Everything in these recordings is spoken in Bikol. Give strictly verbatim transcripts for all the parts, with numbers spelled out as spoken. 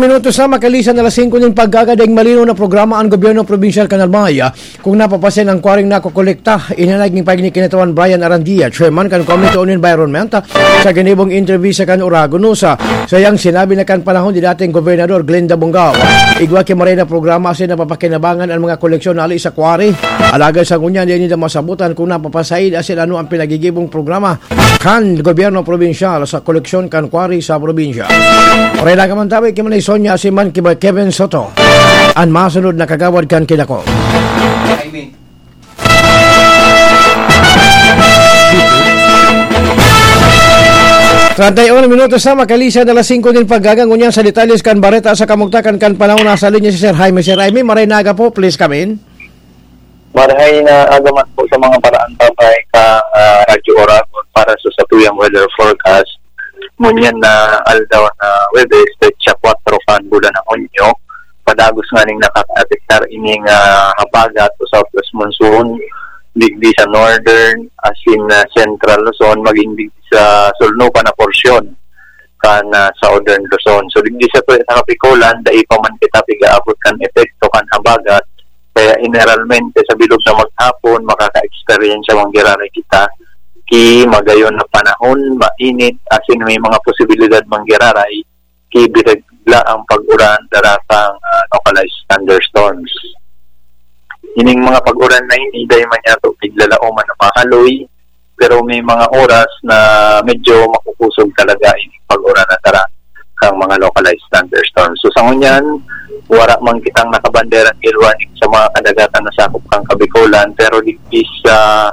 Minutos na makalisan na alas singko nin pagkagadag, malinaw na programa ang gobyerno probinsyal kan Albay. Kung napapasin ang kwaring nakokolekta, inanay nin pagin ni Kinatawan Brian Arandia, chairman kan Committee on Environment, sa ginibong interview sa kan Oragon News. Sa iyang sinabi na kan panahon ni dating Gobernador Glenda Bongao, igwa ki maray na programa asin napapakinabangan ang mga koleksyon na ali sa kwari. Alagad sa ngunyan, di ninda masabutan kung napapasain asin ano ang pinagigibong programa kan gobyerno probinsyal sa koleksyon kan kwari sa probinsya. Orela ka man tabi, ki Manay Sonia Asiman, ki Kevin Soto, an masunod na kagawad kan Kidako. Treinta y uno minutos na makalisan na alas singko nin paggagang. Ngunyan sa detalles kan bareta sa kamugtakan kan panahon, nasa linya si Sir Jaime. Sir Jaime, maray na aga po, please come in. Marhay na aga man po sa mga paraan, Papa, ka, ah, Radyo Oragon para sa satuyang weather forecast. Ngunyan na aldaw na Huwebes, petsa kwatro kan bulan ng Hunyo, padagos nganing nakakaapektar ining, ah, habagat o southwest monsoon digdi sa northern, asin, ah, central Luzon, magin digdi sa sulnupan na porsyon kan, ah, southern Luzon. So, digdi sa, sa Kapikulan, dai pa man kita pigaabot kan epekto kan habagat, kaya generalmente sa bilog na maghapon, makaka-experience man giraray kita ki magayon na panahon, mainit, asin may mga posibilidad man giraray ki bigla ang pag-uran, daratang, ah, localized thunderstorms. Ining mga pag-uran na ini, dai man yato piglalaoman na mahaloy, pero may mga oras na medyo makukusog talaga ini pag-uran na tara kang mga localized thunderstorms. So, sa ngunyan, wara man kitang nakabanderang yellow warning sa mga kadagatan na sakop kan Kabikolan, pero digdi sa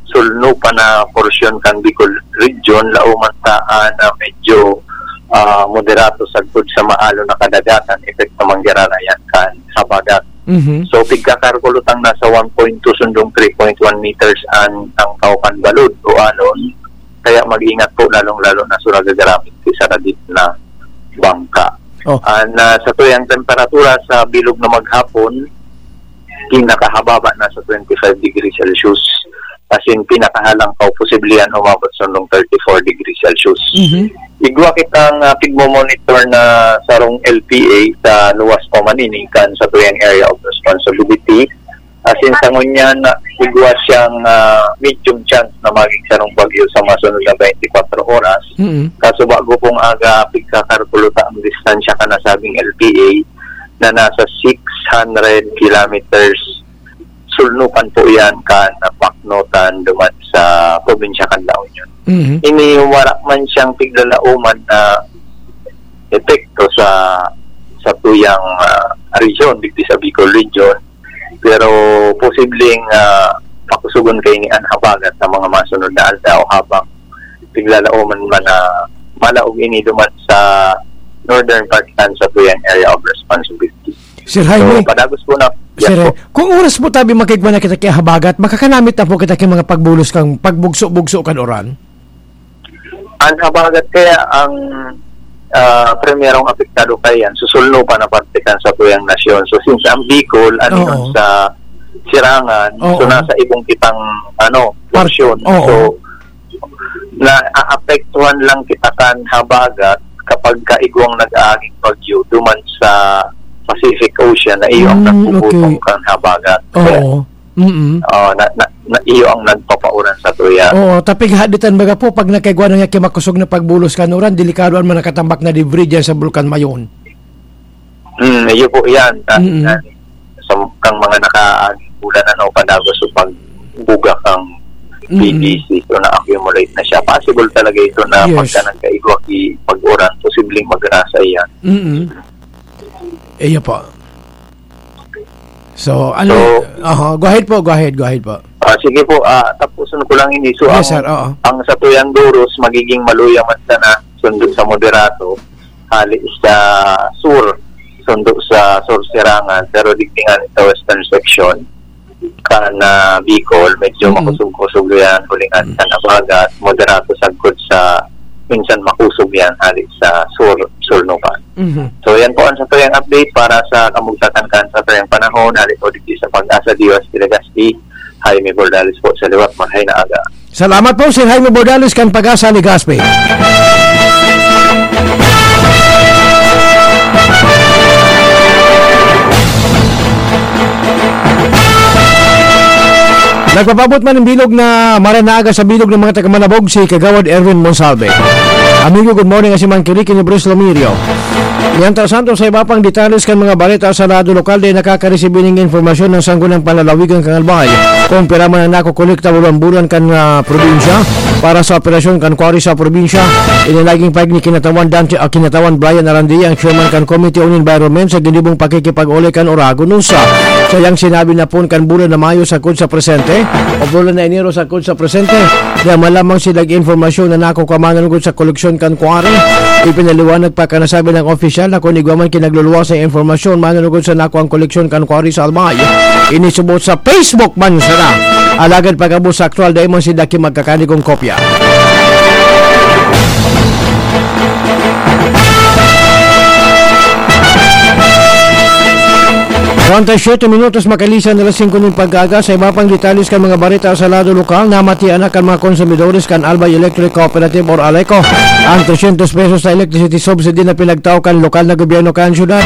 sulnupan na porsyon kan Bicol Region, laoman ta an, ah, medyo, ah, moderato sagkod sa maalo na kadagatan, epekto man giraray yan kan habagat. Mhm. So, pigkakalkulo tang nasa one point two sundong three point one meters an tangkaw kan balod o alon, kaya mag-ingat po, lalong-lalo na sa nagagaramit sa radit na bangka. Oh. An, ah, satuyang temperatura sa bilog na maghapon, pinakahababa nasa twenty-five degrees Celsius, asin pinakahalangkaw posible yan umabot sa nung thirty-four degrees Celsius. Mhm. Igwa kitang, ah, pigmo-monitor na sarong L P A sa luwas pa man ini kan satuyang area of responsibility. Asin sa ngunyan, igwa siyang, ah, medium chance na maging sarong bagyo sa masunod na twenty-four oras. Mm. Kaso bago pong aga, pigkakalkulo ta ang distansya kan nasabing L P A na nasa six hundred kilometers sulnupan po yan kan Pacnotan duman sa probinsya kan La Union. Mhm. Ini wara man siyang piglalaoman na epekto sa, sa tuyang, ah, region, digdi sa Bicol Region. Pero posibleng, ah, pakusugon kaini an habagat sa mga masunod na aldaw habang piglalaoman man na malaog ini duman sa northern part kan satuyang area of responsibility. Sir Jaime, So, padagos po na, yes Sir, po. Kung oras po tabi makigwa na kita ki habagat, makakanamit na po kita ki mga pagbulos kan, pagbugso-bugso kan uran? An habagat kaya ang, ah, primerong apektado kaya yan, susulno pa na parte kan satuyang nasyon. So, since ang Bicol, ano Oo. yun, sa sirangan, Oo. so nasa ibong kitang, ano, Par-, porsyon. oo. So, naaapektuhan lang kita kan habagat kapag kaigwang nag-aaging bagyo duman sa Pacific Ocean na iyo ang Mm, nagpuputong okay. kan habagat. Kaya Oo. Mm. Oo, na, na, na iyo ang nagpapauran sa tuya. Oo, tapig haditan baga po, pag nakaigwa na nga ki makusog na pagbulos kan uran, delikado an mga nakatambak na debris diyan sa Bulkan Mayon. Hmm, iyo po yan. Ta-, Mm. yan. Sa, kang mga nakaaging ulan, ano, padagos o pagbuga kang Mm. P V C, so na-accumulate na siya. Possible talaga ito na Yes. pagka nagkaigwa ki pag-uran, posibleng magrasa yan. Mm. Iyo po. So, ano, So, aha, go ahead po, go ahead, go ahead po. Ah, sige po, ah, tapuson ko lang ini. So, Yes, ang, sir, oo. ang satuyang duros, magiging maluya man sana, sundo sa moderato, hali sa sur, sundo sa sur sirangan, pero digdi nga sa western section, kan, ah, Bicol, medyo Mm. makusog-kusog yan, hulingan Mm. kan habagat, moderato sagkod sa, minsan makusog yan, hali sa sur, sur no pa. Mhm. So, yan po ang satuyang update para sa kamugtakan kan satuyang panahon. Hali po digdi sa Pag-asa Dios, Legazpi, Jaime Bordales po sa liwat, marhay na aga. Salamat po, Sir Jaime Bordales, kan Pag-asa, Legazpi. Nagpapabot man ng bilog na maranaga sa bilog ng mga taga Manabog si Kagawad Erwin Monsalve. Amigo, good morning, si Mang Kirikin ni Bruce Lomirio. Mientras tanto, sa iba pang detalles kan mga balita sa lado lokal, di nakakaresibi ning informasyon ng Sangguniang Panlalawigan kan Albay kung pira man ang nakokolekta bulan-bulan kan, ah, probinsya para sa operasyon kan quarry sa probinsya. Ini naging pahayag ni Kinatawan Dante, ah, Kinatawan Brian Arandia, ang chairman kan Committee on Environment, sa ginibong pakikipag-uli kan Oragon News. Sa iyang sinabi na pon kan bulan na Mayo sagkod sa presente, o bulan na Enero sagkod sa presente, na malamang silang impormasyon na nakukuha manunggod sa koleksyon kan quarry. Ipinaliwanag pa kan nasabing opisyal na kun igwa man kinagluluwas sa impormasyon manunggod sa nakuang koleksyon kan quarry sa Albay, inisubot sa Facebook man sana. Alagad pagkabot sa aktual, dai man sinda ki magkakanigong kopya. Treinta y siete minutos makalisan na alas singko nin pag-aga. Sa iba pang detalles kan mga bareta sa lado lokal, namatian na kan mga konsumidores kan Albay Electric Cooperative or ALECO ang trescientos pesos sa electricity subsidy na pinagtao kan lokal na gobyerno kan syudad.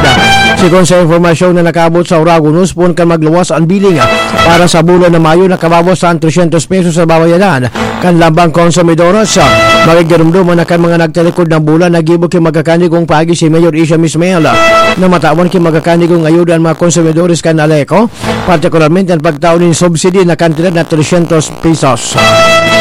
Sigon sa impormasyon na nakaabot sa Oragon News, poon kan magluwas an billing para sa bulan na Mayo, nakabawas sa trescientos pesos sa babayadan kan lambang konsumidores. Magigirumduman na kan mga nagtalikod na bulan, nagibo ki magkakanigong paagi si Mayor Isha Mismael na matawan ki magkakanigong ayuda an mga konsumidores kan ALECO, partikularmente an pagtao nin subsidy na kantidad na trescientos pesos.